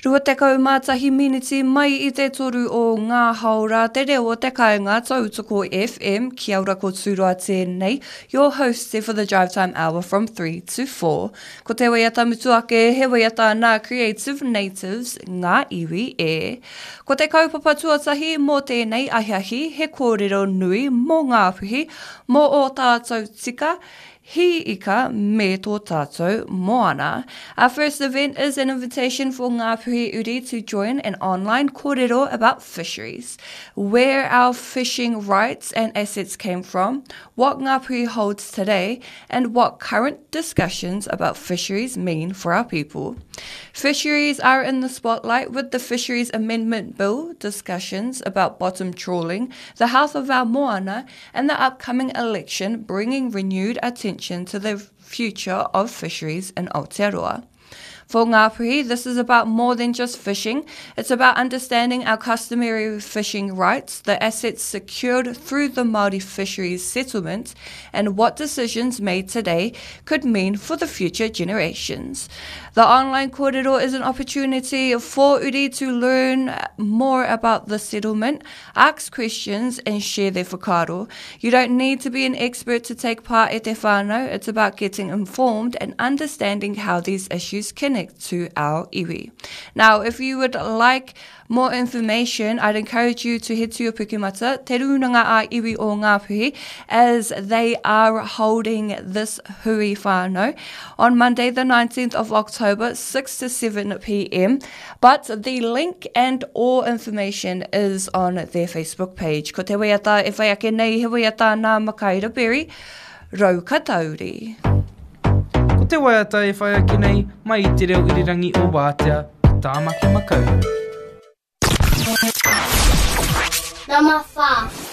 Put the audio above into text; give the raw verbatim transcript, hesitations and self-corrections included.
Rua tekau mā tahi miniti mai i te toru o ngā haora te reo o te kāinga Tautoko FM, kia ora ko Tūroa tēnei, your host for the drive time hour from three to four. Ko te waiata mutu ake, he waiata nā Creative Natives, Ngā Iwi E. Ko te kaupapa tuatahi mō tēnei ahiahi, he kōrero nui mō Ngāpuhi, mō ō tātou tika, hī ika me tō tātou moana. Our first event is an invitation for Ngāpuhi Uri to join an online kōrero about fisheries, where our fishing rights and assets came from, what Ngāpuhi holds today, and what current discussions about fisheries mean for our people. Fisheries are in the spotlight with the Fisheries Amendment Bill, discussions about bottom trawling, the health of our moana, and the upcoming election bringing renewed attention to the future of fisheries in Aotearoa. For Ngāpuhi, this is about more than just fishing. It's about understanding our customary fishing rights, the assets secured through the Māori fisheries settlement, and what decisions made today could mean for the future generations. The online kōrero is an opportunity for uri to learn more about the settlement, ask questions, and share their whakaaro. You don't need to be an expert to take part e te whānau. It's about getting informed and understanding how these issues connect to our iwi. Now, if you would like more information, I'd encourage you to head to your Pukemata, Te Rūnanga a Iwi o Ngāpuhi, as they are holding this hui whānau on Monday the nineteenth of October, six to seven p m. But the link and all information is on their Facebook page. Ko te waiata e whai ake nei, he waiata nā Makaira Berry, Raukatauri. Ko te waiata e whai ake nei, mai i te reo irirangi o Wātea, ki Tāmaki Makaurau. Number five.